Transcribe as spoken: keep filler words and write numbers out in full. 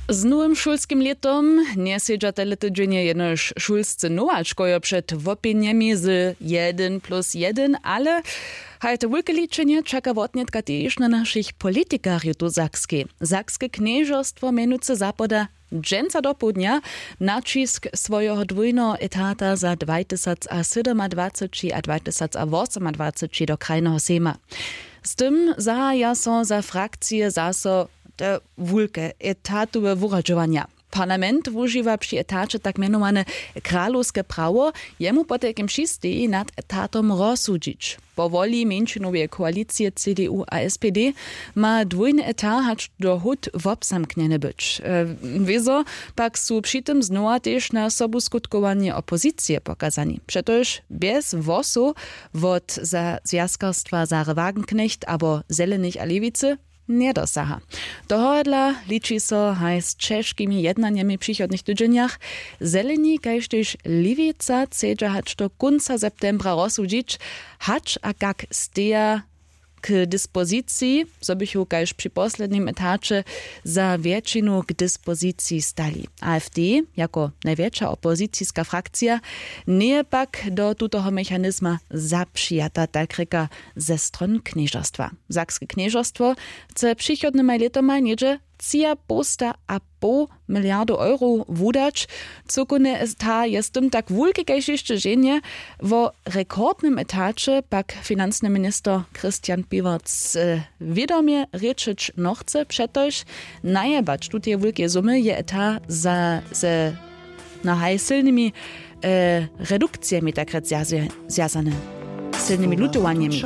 Z nowym šulskim lětom njesedźa tele tydźenje jenož šulscy nowačkojo před wopjenjemi z jedyn plus jedyn, ale haj to wulke ličenje čaka wotnětka tež na našich politikarjow tu w sakskej. Sakske knježerstwo mjenujcy zapoda dźensa dopołdnja naćisk swojeho dwójneho etata za dwajtysacsydomadwaceći a dwajtysacwosomadwaceći do krajneho sejma. Z tym zahaja so za frakcije zaso te wulke etatowe wuradźowanja. Parlament wužiwa při etaće tak mjenowane kralowske prawo, jemu potajkim přisteji nad etatom rozsudźić. Po woli mjeńšinoweje koalicije cdu a spd ma dwójny etat hač do hód wobzamknjeny być. Wězo pak su při tym znowa tež na sobuskutkowanju opozicije pokazani přetož bjez hłosow wot zwjazkarstwa sary wagenknecht abo zelenych a lewicy njedosaha. Tohodla liči so haj z ćežkimi jednanjemi w přichodnych tydźenjach. Zeleni kaž tež lewica chcedźa hač do kónca septembra rozsudźić, hač a kak steja k dispoziciji, zo bychu kaž při poslednim etaće za wjetšinu k dispoziciji stali. Afd jako najwjetša opoziciska frakcija njeje pak do tutoho mechanizma zapřijata, tak rěka ze stron knježerstwa. Sakske knježerstwo chce přichodnymaj lětomaj něhdźe tři a poł sta a poł miliardow eurow wudać. Cyłkownje ta je z tym tak wulki kaž hišće ženje. Wo rekordnym etaće pak financny minister christian piwarc wědomje rěčeć nochce přetož najebać tuteje wulkeje sumy je eta za ze na haj sylnymi redukcijemi tak rjec zwjazany, sylnymi lutowanjemi.